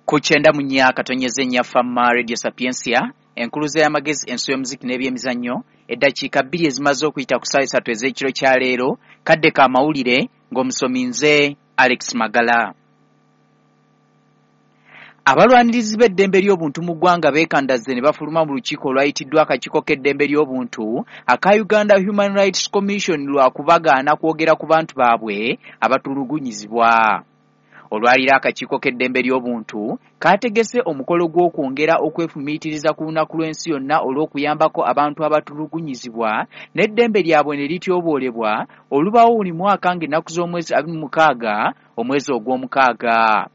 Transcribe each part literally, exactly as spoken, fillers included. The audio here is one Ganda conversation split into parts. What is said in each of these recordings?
Ku kyenda mu nnya katonyeze nnya Fama Radio Sapientia, enkuluze y'amagezi, ensi y'omuziki n'ebyemizannyo. Eddakiika bbiri ezimaze okuyita ku ssaawa esatu ez'ekiro kya leero, kadde ka mawulire ng'omusomi nze Alex Magala. Abalwanirizi b'eddembe ly'obuntu mu ggwanga beekandazze ne bafuluma mu lukiiko olwayitiddwa akakiiko k'eddembe ly'obuntu aka Uganda Human Rights Commission lwa kubagaana kwogera ku bantu baabwe abatulugunyizibwa. Olwaliro akakiiko k'eddembe ly'obuntu kaategese omukolo gw'okwongera okwefumiitiriza ku lunaku lw'ensi yonna olw'okuyambako abantu abatulugunyizibwa n'eddembe lyabwe ne lityoboolebwa, olubaawo buli mwaka ng'ennaku z'omwezi abiri mu mukaaga omwezi ogw'omukaaga.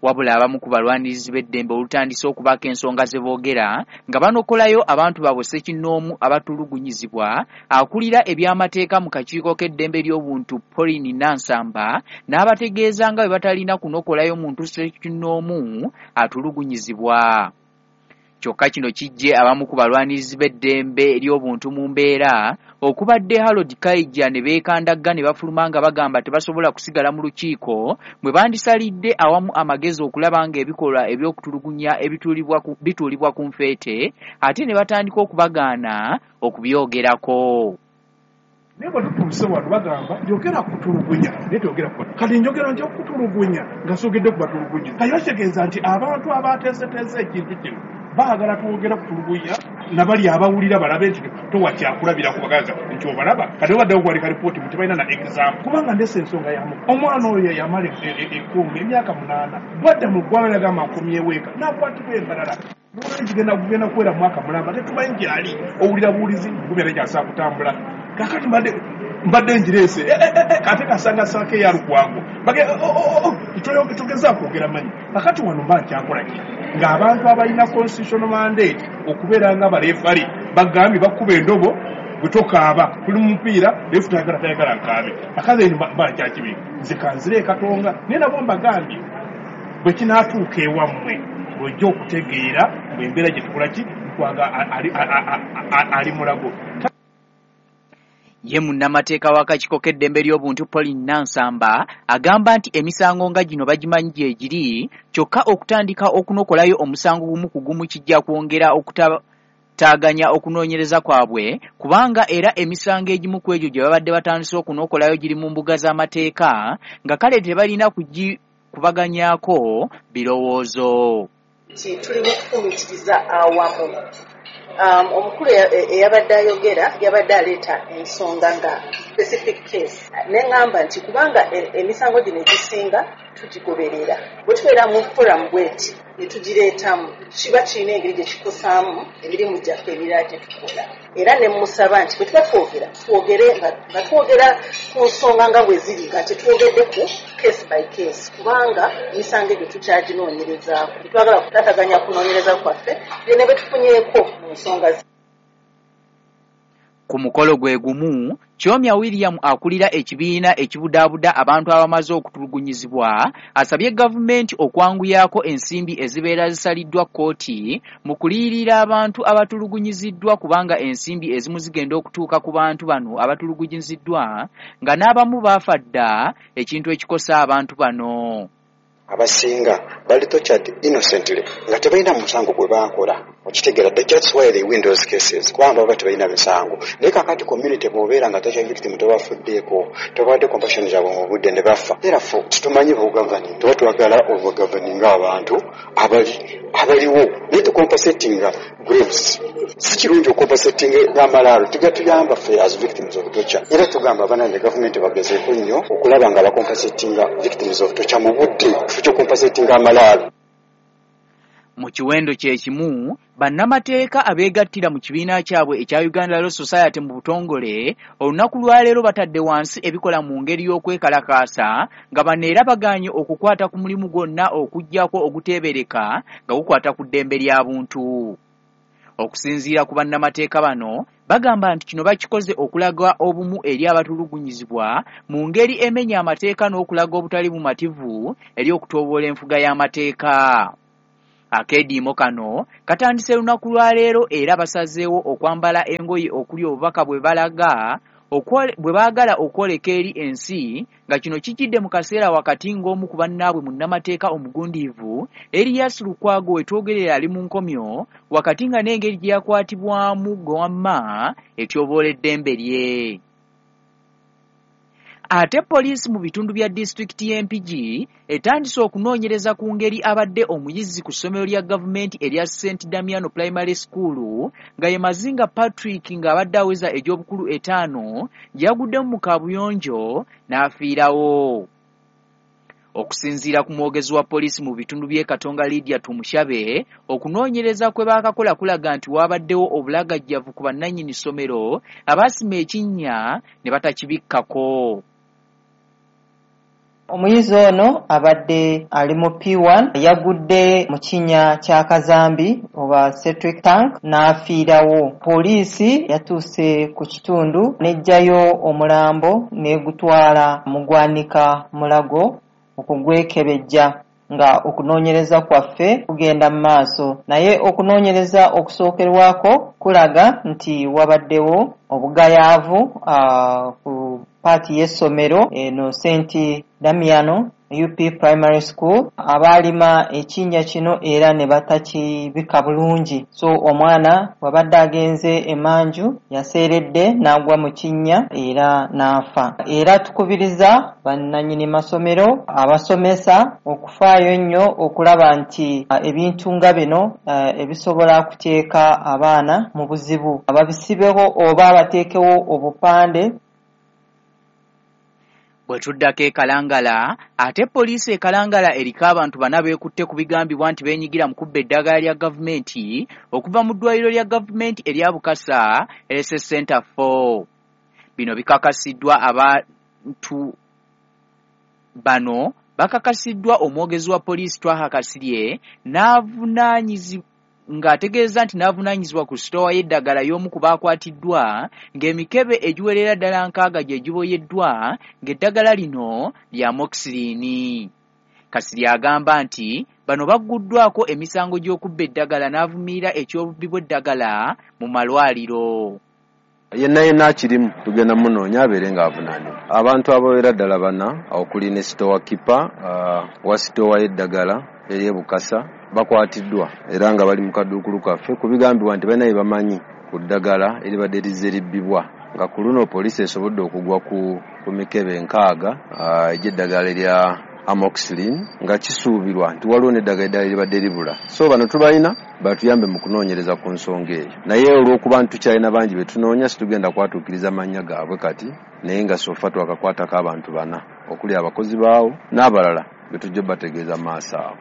Wabula abamu ku balwanirizi b'eddembe olutandise okubaako ensonga ze boogera nga banokolayo abantu baabwe ssekinnoomu abatulugunyizibwa, akulira ebyamateeka mu kakiiko k'eddembe ly'obuntu Pauline Nansamba n'abategeeza nga bwe batalina kunokolayo muntu ssekinnoomu atulugunyizibwa. Kyokka kino kijje abamu ku balwanirizi b'eddembe ly'obuntu mu mbeera okubadde Harold Kaija ne beekandagga ne bafuluma nga bagamba tebasobola kusigala mu lukiiko mwe bandisalidde awamu amagezi okulaba ng'ebikolwa eby'okutulugunya ebituulibwa ku nfeete, ate ne batandika okubagaana okubyogerako. Naye bwe tutuuse wano bagamba yogera kutulugunya, naye toyogera ku kati njogera nti okutulugunya nga soogedde ku batulugunya. Kati bakitegeeza nti abantu abateeseteese ekintu kino baagala twogera kutulugunya nabali abawulira balabe nti towa kyakulabirako bagaza nti obalaba. Kati obaddewo kuwalika lipooti mu tebalina na example, kubanga ndese ensonga yamu omwana oyo yamala ekkuumi emyaka munaana bwadda mu ggwanga yagamba nkomyewo eka n'akwatibwa embalala kigenda kugenda kuwera mwaka mulamba tetumanyi gyali, owulira buwulizi gumera gyasobola kutambula. Kakati mbadde mbadde ngireese ate kasanga saako eya Lukwago tugezaako kwogera manyi. Kakati wano mba nkyakola ki ng'abantu abalina constitutional mandate okubeera nga baleefali bagambye bakuba endobo bwe tokaaba tuli mu mupiira leefu tayagala tayagala nkaabe. Akaze mba nkyakibi nze kanzire e Katonga, naye nabo mbagambye bwe kinaatuuka ewammwe bw'ojja okutegeera bw'embeera gye tukola ki Lukwago ali mulago. Ye munnamateeka w'akakiiko k'eddembe ly'obuntu Pauline Nansamba agamba nti emisango nga gino bagimanyi gye giri, kyokka okutandika okunokolayo omusango gumu ku gumu kijja kwongera okutaaganya okunoonyereza kwabwe, kubanga era emisango egimu ku egyo gye babadde batandise okunokolayo giri mu mbuga z'amateeka nga kale tebalina kugikubaganyaako birowoozo. Tuli mu kufumiitiriza awamu. Um, omukulu eyabadde ayogera yabadde aleeta ensonga nga specific case, ne ŋŋamba nti kubanga emisango gino egisinga tugigoberera bwe tubeera mu forum bweti ne tugireetamu kiba kirina engeri gye kikosaamu emirimu gyaffe emirala gye tukola. Era ne mmusaba nti bwe tuba twogera twogere nga twogera ku nsonga nga bwe ziri nga tetwogedde ku case by case, kubanga emisango egyo tukyaginoonyerezaako. Tetwagala kutaataganya kunoonyereza kwaffe ne bwe tufunyeeko mu nsonga. Ku mukolo gwe gumu, Kyomya William akulira ekibiina ekibudaabuda abantu abamaze okutulugunyizibwa asabye gavumenti okwanguyaako ensimbi ezibeera zisaliddwa kkooti mu kuliyirira abantu abatulugunyiziddwa, kubanga ensimbi ezimu zigenda okutuuka ku bantu bano abatulugunyiziddwa nga n'abamu baafa dda, ekintu ekikosa abantu bano. Abasinga bali tortured innocently nga tebalina musango gwe baakola, okitegeera. That's why they win those cases, kubanga baba tebalina misango. Naye kakati community bw'obeera nga torture victim tobafuddeeko, tobawadde compassion zaabwe mu budde ne bafa. Therefore tetumanyi bugavani, tuba twagala obugavaninga abantu abali abaliwo, naye tucompensatinga graves. Si kirungi okucompensatinga amalaalo, tigatuyamba ffe as victims of torture. Era tugamba abanange gavumenti bagezeeko nnyo okulaba nga bacompensatinga victims of torture mu budde, kufo amalaalo. Mu kiwendo kye kimu, bannamateeka abeegattira mu kibiina kyabwe ekya Uganda Law Society mu butongole olunaku lwaleero batadde wansi ebikola mu ngeri y'okwekalakaasa nga bano era bagaanye okukwata ku mulimu gwonna okuggyako oguteebereka nga gukwata ku ddembe lya buntu. Okusinziira ku bannamateeka bano, bagamba nti kino bakikoze okulaga obumu eri abatulugunyizibwa mu ngeri emenya amateeka n'okulaga obutali bumativu eri okutoboola enfuga y'amateeka. Akeediimo kano katandise lunaku lwa leero era basazeewo okwambala engoye okuli obubaka bwe balaga bwe baagala okwoleka eri ensi, nga kino kijjidde mu kaseera wakati ng'omu ku bannaabwe munnamateeka omugundiivu Erias Lukwago wetwogerera ali mu nkomyo, wakati nga n'engeri gye yakwatibwamu gwe wamma etyoboola eddembe lye. Ate poliisi mu bitundu bya disitulikiti y'e Mpigi etandise okunoonyereza ku ngeri abadde omuyizi ku ssomero lya gavumenti erya Saint Damiano Primary School nga ye Mazinga Patrick ng'abadde aweza egy'obukulu etaano yaguddemu mu kaabuyonjo n'afiirawo. Okusinziira ku mwogezi wa poliisi mu bitundu by'e Katonga Lydia Tumushabe, okunoonyereza kwe baakakola kulaga nti waabaddewo obulagajjavu ku bannannyini ssomero abaasima ekinnya ne batakibikkako. Omuyizi ono abadde ali mu P one, yagudde mu kinnya kya kazambi oba septic tank n'afiirawo. Poliisi yatuuse ku kitundu n'eggyayo omulambo n'egutwala mu ggwanika Mulago okugwekebejja, nga okunoonyereza kwaffe kugenda mu maaso. Naye okunoonyereza okusookerwako kulaga nti wabaddewo obugayaavu ku paati y'essomero eno Saint Damiano U P Primary School, abaalima ekinnya kino era ne batakibika bulungi. So omwana bw'abadde agenze emanju yaseeredde n'agwa mu kinnya era n'afa. Era tukubiriza bannannyini masomero, abasomesa okufaayo ennyo okulaba nti ebintu nga bino ebisobola kuteeka abaana mu buzibu babisibeho oba bateekewo obupande. Bwe tuddako e Kalangala, ate poliisi e Kalangala eriko abantu bana beekutte ku bigambibwa nti beenyigira mu kubba eddagala lya gavumenti okuva mu ddwaliro lya gavumenti erya Bukasa Health Center four. Bino bikakasiddwa abantu bano bakakasiddwa omwogezi wa poliisi Twaha Kasirye n'avunaanyizibwa ng'ategeeza nti n'avunaanyizibwa ku sitoowa y'eddagala y'omu ku baakwatiddwa ng'emikebe egiwerera ddala nkaaga gye giboyeddwa ng'eddagala lino lya amoxicillin. Kasirye agamba nti bano bagguddwako emisango gy'okubba eddagala n'avumirira eky'obubbi bw'eddagala mu malwaliro. Yenna yenna akirimu tugenda munoonya abeere ng'avunaanibwa. Abantu abawera ddala bana okuli ne sitoowa kipa uh, wa sitoowa y'eddagala ery'e Bukasa bakwatiddwa era nga bali mu kaduukulu kaffe ku bigambibwa nti balina bye bamanyi ku ddagala eribadde lizze libbibwa, nga ku luno poliisi esobodde okugwa ku, ku mikebe nkaaga egy'eddagala erya amoxicillin, nga kisuubirwa nti waliwo n'eddagala eddala eribadde libula. So bano tubalina batuyambe mu kunoonyereza ku nsonga eyo, naye olw'okuba nti tukyalina bangi be tunoonya situgenda kwatuukiriza mannya gaabwe kati, naye nga sofa twakakwatako abantu bana okuli abakozi baawo n'abalala be tujja bategeeza maaso awo.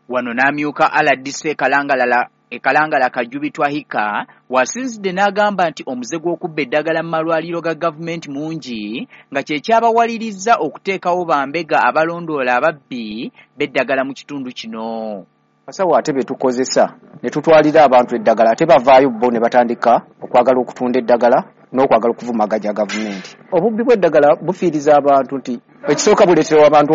Wano n'amyuka R D C Kalangala e Kalangala Kajubi Twahika wasinzidde n'agamba nti omuze gw'okubba eddagala mu malwaliro ga gavumenti mungi nga kye kyabawalirizza okuteekawo bambega abalondoola ababbi b'eddagala mu kitundu kino. Abasawo ate be tukozesa ne tutwalira abantu eddagala ate bavaayo bo ne batandika okwagala okutunda eddagala n'okwagala okuvumaganya gavumenti. Obubbi bw'eddagala bufiiriza abantu nti ekisooka buleetera abantu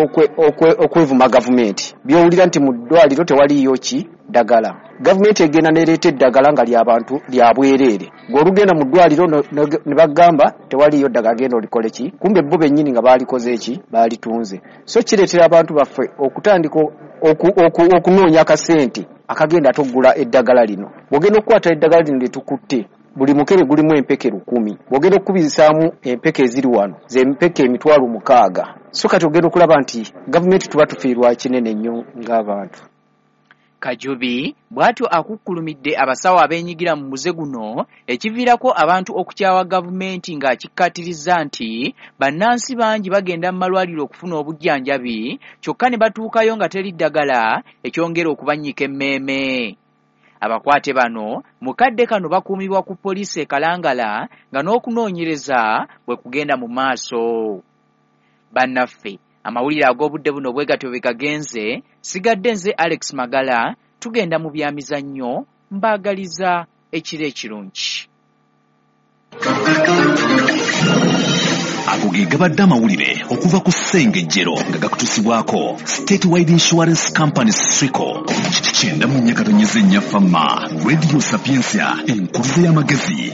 okwevuma gavumenti. By'owulira nti mu ddwaliro tewaliiyo ki ddagala. Gavumenti egenda n'ereeta eddagala nga ly'abantu lya bwereere. Gw'olugenda mu ddwaliro ne bagamba tewaliiyo ddagala genda olikole ki, kumbe bo bennyini nga baalikoze ki, baalitunze. So kireetera abantu baffe okutandika okunoonya akasente akagenda ate okugula eddagala lino. Bw'ogenda okukwata eddagala lino lye tukutte, buli mukebe gulimu empeke lukumi. Bw'ogenda okukubisaamu empeke eziri wano z'empeke emitwalo mukaaga. So kati ogenda okulaba nti gavumenti tuba tufiirwa kinene nnyo ng'abantu. Kajubi bw'atyo akukkulumidde abasawo abeenyigira mu muze guno ekiviirako abantu okukyawa gavumenti ng'akikkaatiriza nti bannansi bangi bagenda mu malwaliro okufuna obujjanjabi kyokka ne batuukayo nga teri ddagala ekyongera okubannyika emmeeme. Abakwate bano mu kadde kano bakuumibwa ku poliisi e Kalangala nga n'okunoonyereza bwe kugenda mu maaso. Bannaffe, amawulire ag'obudde buno bwe gatyo bwe gagenze. Sigadde nze Alex Magala, tugenda mu byamizannyo, mbaagaliza ekiro ekirungi. Ago ge gabadde amawulire okuva ku Ssengejjero nga gakutuusibwako State Wide Insurance Company Swico. Kyenda mu nnya katonnyeze nnya Fama, Radio Sapientia, enkuluze y'amagezi.